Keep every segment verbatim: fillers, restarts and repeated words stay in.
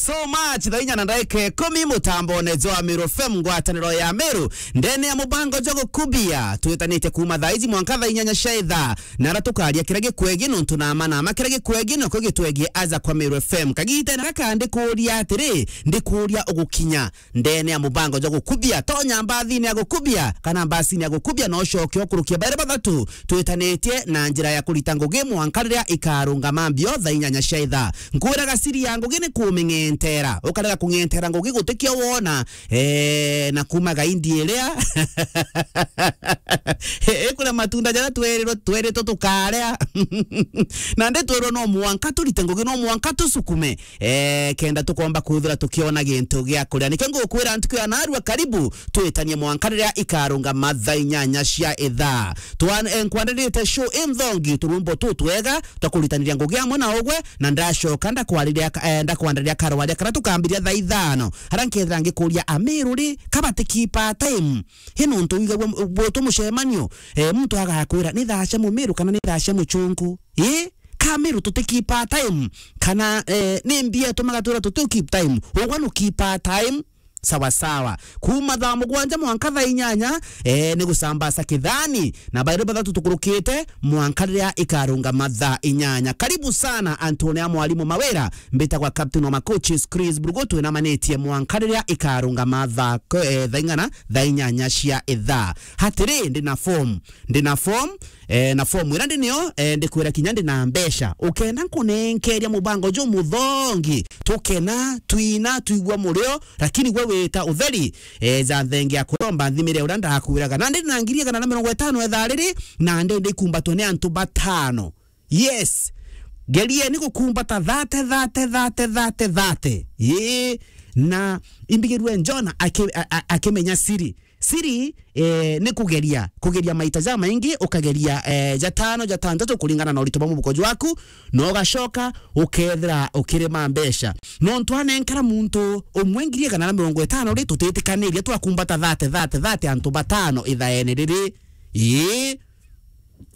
So much, thaa inya na ndagika ikumi, mutambone jwa Meru F M, ngwataniro ya Meru, ndene ya mubango jwa gukubia, twitanitie kuuma thaa iji mwanka thaa inyanya cia ithaa, na ara tukaria kiria gikwegii nontu nama nama kiria gikwegii nokio gitwegii aja kwa Meru F M. Kagitene gaka ndikuria atiri, ndikuria ugukinya ndene ya mubango jwa gukubia, tonya mbathine ya gukubia, kana mbasine ya gukubia, na ucoke ukurukie bairi bathatu twitanitie na njira ya kurita ngugi mwanka riria ikarungama mbio thaa inyanya cia ithaa. Nkwiraga siri ya ngugi ni kuming'entera, ukarega kung'entera ngugi gutikio wona, eh, na kuuma gaindi iria ikuria matunda jaria twerirwe, tweritwe tukaria. Na ndi twirwe no mwanka turite ngugi, no mwanka tusukume, eh, kenda tukomba kwithira tukiona gintu gia kuria. Nikio ngukwira ntuku ya narua, karibu twitanie mwanka riria ikarungama thaa inyanya cia ithaa. Twan-, eh, nkwandirite show inthongi, turumbo tu twega twa kuritaniria ngugi amwe na ugwe, na ndacoka ndakwariria ka-, eh, ndakwandariria karwaria karia tukambiria thaa ithano, aria nkethira ngikuria Amiru ri, kabati keep time. Hi nontu wigagua m-, gwitwa mucemanio, eh, muntu agakwira, "Ni thaa cia Mumiru kana ni thaa cia Muchunku?" Ii, ka Amiru tuti keep time, kana, eh, ni mbia itumaga twira tuti keep time? Ugwe nu keep time, sawa sawa. Kuuma thaa mugwanja mwanka thaa inyanya, eh, ni gucambasa kithani, na bairi bathatu tukurukite, mwanka riria ikarungama thaa inyanya. Karibu sana, antu ni a mwarimu Mawira, mbitagwa captain wa ma coaches Chris Brugo, twinamanitie mwanka riria ikarungama thaa ko-, eh, thaa ing'ana? Thaa inyanya cia ithaa. Atiri, ndi na form, ndi na form, eh, na form iria ndi nio, eh, ndikwira kinya ndi na mbeca. Ukenda nkunenkeria mubango jumuthongi, tukena, twina, twigua murio, lakini gwe wita utheri, eh, ja thengia kuromba nthimire uria ndakwiraga. Na ndi na ngiri igana na mirongo itano ithaa riri, na ndi ndikumbatwe ni antu batano. Yes. Gerieni gukumbata thate, thate, thate, thate, thate. Ii, na imbigirue Jona aki-, a-, a-, akimenya siri. Siri, eh, ni kugeria, kugeria maita jamaingi, ukageria, eh, jatano, jatantatu kuringana na urito bwa mubuko jwaku, na ugacoka ukethira ukirima mbeca. Nontu anenkara muntu umwe ngiri igana na mirongo itano ri, tutitikanirie twakumbata thate, thate, thate antu batano ithaene riri. Ii.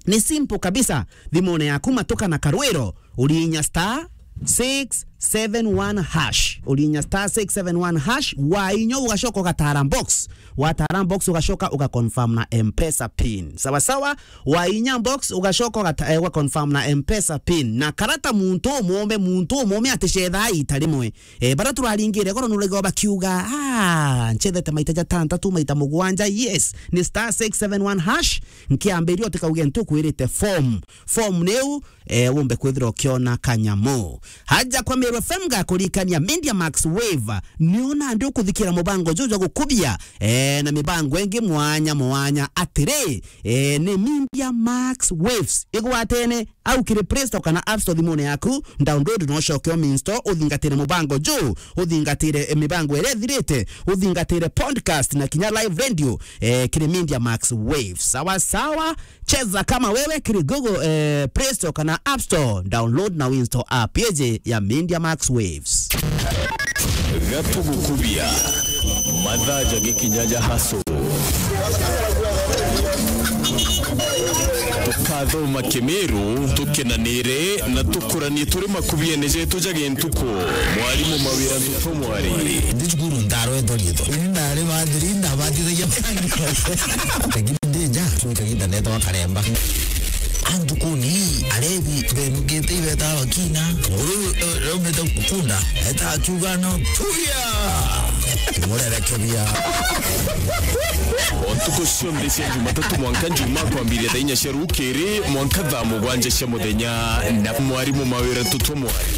Ni simple kabisa. Thimune yaku matuka na karwiro, uriinya star six seven one hash. Uriinya star six seven one hash, wainya ugacoka ugatara box. Watara box ugacoka ugaconfirm na M-Pesa pin. Sawa sawa, wainya box ugacoka ugata-, eh, ugaconfirm na M-Pesa pin. Na karata muntu umume, muntu umume aticethaa ita rimwe. Eh, bara turaringire goro nurego bakiuga, "Ah, nchethete maita jatantatu, maita mugwanja." Yes, ni star six seven one hash. Nkiambiria utikauge ntukwirite form. Form niu, eh, wumbe kwithira ukiona kanyamu. Haja kwa Meru F M ngakurikania Media Max Wave. Niona ndi ukuthikira mubango juju jwa gukubia, eh, na mibango ingi mwanya mwanya. Atiri, eh, ni Media Max Waves. Igwatene au kiri Play Store kana App Store thimune yaku, download na ucoke uminstall, uthingatire mubango juu, uthingatire, eh, mibango iria ithirite, uthingatire podcast na kinya live radio, eh, kiri Media Max Waves. Sawa sawa, cheza kama wewe kiri Google, eh, Play Store kana App Store, download na uinstall app yeje ya Media Max Waves. Gatugukubia. Mathaa ja gikinya ja hustle. Tukathoma Kimiru, tukenanire na tukuranie turi makubiene jetu ja gintuku. Mwarimu Mawira Ntutu Mwari. Ndi cukuru ndarwetwo riitwa. Ini ndari bathiri, ndabatithagia. Lakini ndi nja, cukuru kagiita neetagwa Karemba. Antu kuni, arebi, benukite ibeta bakina. Nguru, eh, raumite gukunda. Eta akiuga no. Tuya! Murerekebia. O ntuku cionthe cia Jumatatu mwanka Njumaa kwambiria thaa inya cia rukiri mwanka thaa mugwanja cia muthenya na mwarimu Mawira Ntutu Mwari.